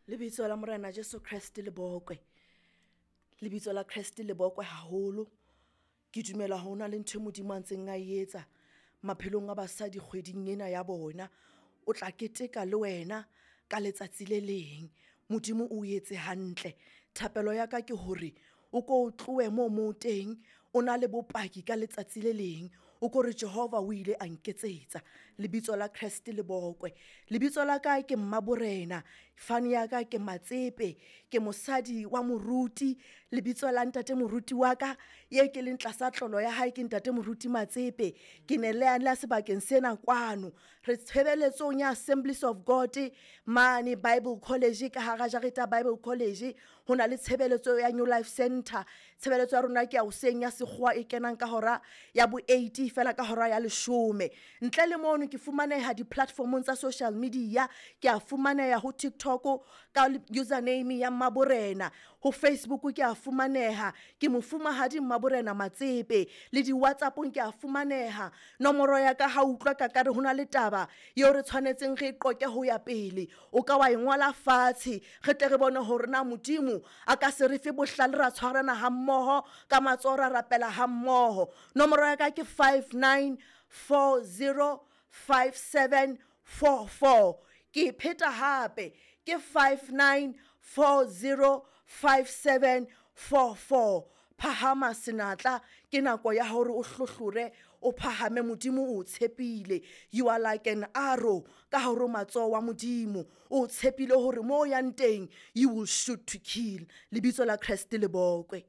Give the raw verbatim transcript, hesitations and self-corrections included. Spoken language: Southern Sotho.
Lebitso la Morena Jesu Kreste le bokwe. Lebitso la Kreste le bokwe haholo. Ke dumela ho na le ntho e Modimo a ntseng a e etsa maphelong a basadi kgweding ena ya bona. O tla keteka le wena ka letsatsi le leng. Modimo o etse hantle. Thapelo ya ka ke hore o ko tlohe moo mo teng o na le bopaki ka letsatsi le leng. O ko re Jehova o ile a nketsetsa. Lebitso la Kreste le bokwe. Lebitso la ka ke Mmaborena, fane ya ka ke Matsepe, ke mosadi wa moruti. Lebitso la ntate moruti wa ka ye ke leng tlasa tlolo ya hae ke ntate moruti Matsepe. Ke ne le la sebakeng sena kwano. Re tshebeletsong ya Assemblies of God mane Bible College ka hara jareta Bible College. Ho na le tshebeletso ya New Life Center. Tshebeletso ya rona ke ya hoseng ya sekgowa e kenang ka hora ya bo eight fela ka hora ya leshome. Ntle le mono ke fumaneha di-platformong tsa social media. Ke a fumaneha ho TikTok ka username ya Mmaborena. Ho Facebook ke a fumaneha ke mofumahadi Mmaborena Matsepe. Le di-WhatsApp-ong ke a fumaneha. Nomoro ya ka ha utlwa ka kare hona le taba eo re tshwanetseng re e qoqe ho ya pele. O ka wa e ngola fatshe re tle re bone hore na Modimo a ka se re fe bohlale ra tshwarana ha mmoho ka matsoho ra rapela ha mmoho. Nomoro ya ka ke five nine four zero five seven four four. Ke e pheta hape ke five nine four zero five seven four four. Phahama senatla, ke nako ya hore o hlohlore, o phahame. Modimo o tshepile. You are like an arrow ka hare ho matsoho wa Modimo. O tshepile hore mo o yang teng you will shoot to kill. Lebitso la Kreste le bokwe.